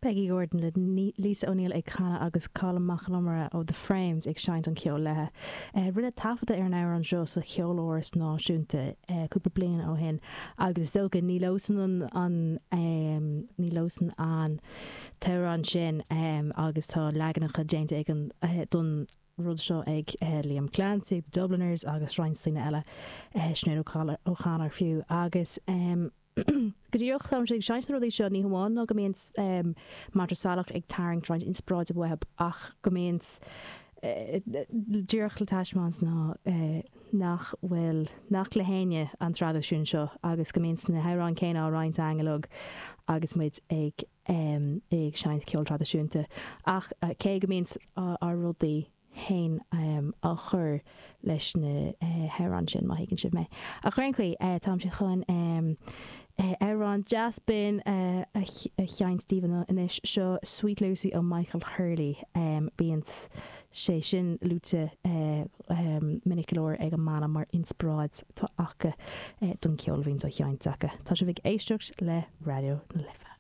Peggy Gordon le Lisa O'Neill ag canadh agus Colm Mac Con Iomaire ó The Frames ag seinnt an cheoil léi. Rinneadh taifeadadh ar an amhrán seo sa Cheoláras Náisiúnta cúpla bliain ó shin agus is dócha ní leosan an ní leosan an t-amhrán sin agus tá leaganacha déanta ag an don rud seo ag Liam Clancy, The Dubliners agus roinnt daoine eile, Sinéad O'Connor fiú agus. Go díreach, táimse ag seinnt na rudaí seo, ní hamháin ná go mbíonn Mantra Salach ag tarraingt roinnt inspioráide uathu ach go mbíonn díreach le taispeáint ná nach bhfuil, nach le héinne an traidisiún seo agus go mbíonn na hamhráin céanna á roinnt againn uilig agus muid ag ag seinnt ceol traidisiúnta. Ach cé go mbíonn ár rudaí fhéin á chur leis na hamhráin sin, má thuigeann sibh mé. Ach ar aon chaoi, táimse chun amhrán deas binn a sheinnt daoibh anois. Seo Sweet Lucy ó Michael Hurley. Bíonn sé sin luaite minic go leor ag an mbanna mar inspioráid atá acu don cheol a bhíonns á sheinnt acu. Tá sibh ag éisteacht le Raidió na Life.